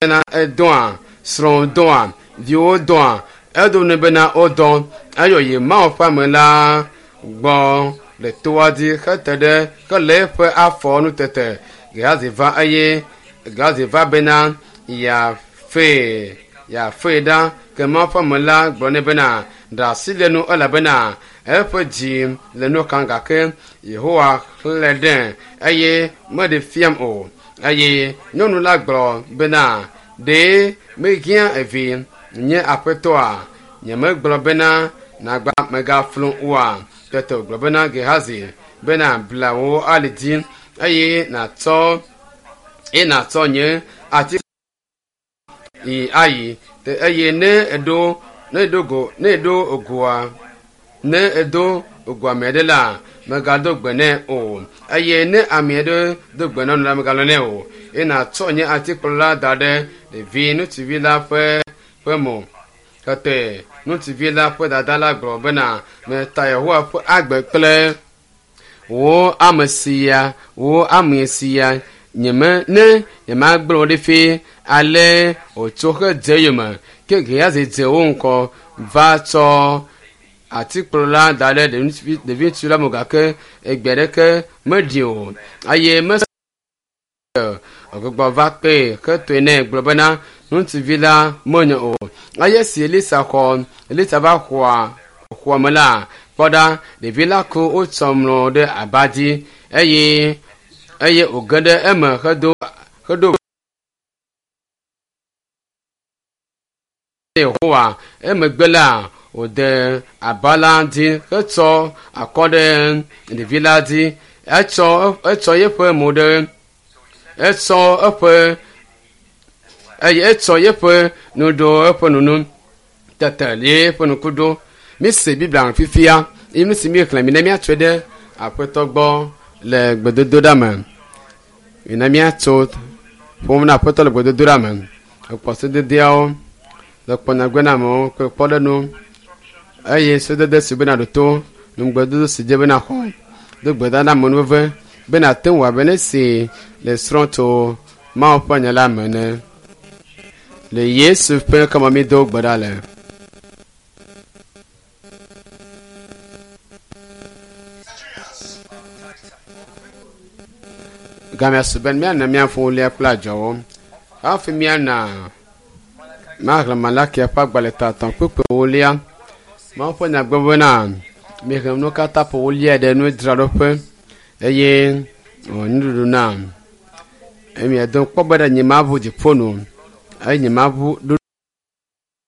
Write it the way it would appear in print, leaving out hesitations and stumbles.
Bena edɔa, srɔ̃ dɔa, viwo dɔa, edo nɛ bena wodɔ. Eyɔ yi Mawu ƒe ame la gbɔ le toa dzi hete ɖe hele eƒe afɔ nu tete. Gehazi va eye Gehazi va bena yeafee yeafee ɖa. Ke Mawu ƒe ame la gblɔ nɛ bena, ɖe asi le nu elabena eƒe dzi le nu xam gake Yehowa xlẽ ɖe eye meɖe fiam o. Eye nyɔnu la gblɔ bena, ɖe mehiã evi nye aƒetɔa? Nyemegblɔ bena nagba megaflu oa? Tete wògblɔ bena Gehazi bena, bla wò ali dzi eye nàtsɔ eye nàtsɔ nye ati yi ayi. Eye ne eɖo ne eɖo go ne eɖo goa ne edo go ame aɖe la, mègado gbe nɛ o. Eye ne ame aɖe do gbe na nu la, mègalɔ̃ nɛ o. Eye nàtsɔ nye atikplɔ la da ɖe ɖevi ŋutsuvi la ƒe ƒe mo. Tete ŋutsuvi la ƒe dada la gblɔ bena, Meta Yehowa ƒe agbe kple wò ame sia, wò ame sia, nyeme ne nyemagblẽ wò ɖi fi ale wòtso hedze eyome. Ke Gehazi dze wo ŋgɔ va tsɔ atikplɔ la da ɖe ɖevi ŋutsu la mo gake egbe aɖeke meɖi o eye mese wògbugbɔ va kpee hetoe nɛ gblɔ bena ŋutsuvi la menyo o. Eye esi Elisa xɔ Elisa va xɔa xɔa me la, kpɔ ɖa, ɖevi la ku wotsɔ mlɔ ɖe aba dzi eye eye wòge ɖe eme hedo heɖo Yehowa. Emegbe la, wòde aba la dzi hetsɔ akɔ ɖe ɖevi la dzi. Etsɔ etsɔ eƒe mo ɖe etsɔ eƒe eye etsɔ eƒe nu ɖo eƒe nu nu tete li eƒe ŋku ɖo. Mise Biblia fifia eye nu si míexlẽ mi ne míatsɔe ɖe Aƒetɔ gbɔ le gbedodoɖa me. Mina míatso ƒom na Aƒetɔ le gbedodoɖa me. Ekpɔ sededeawo le kpɔ nyagbe na amewo kple kpɔɖeŋu eye sedede si bena ɖo to nugbedodo si dze bena xɔ do gbe ɖa na amenuveve be nàte ŋu abe ne si le srɔ̃ tso Mawu ƒe nya la me ene. Le Yesu ƒe ŋkɔ me mído gbe ɖa le. Gamea su be míana míaƒo lia kple adzɔwo. Hafi míana maxlẽ Malakia ƒe agbalẽ tatɔ̃ kpukpui ewolia. Mawu ƒe nya gblɔ bena, mixlẽ nuwo katã ƒo wolia ɖe nudzraɖoƒe eye wònye nuɖuɖu nam. Eye miado kpɔ be ɖe nyemaʋu dziƒo nu eye nyemaʋu ɖo.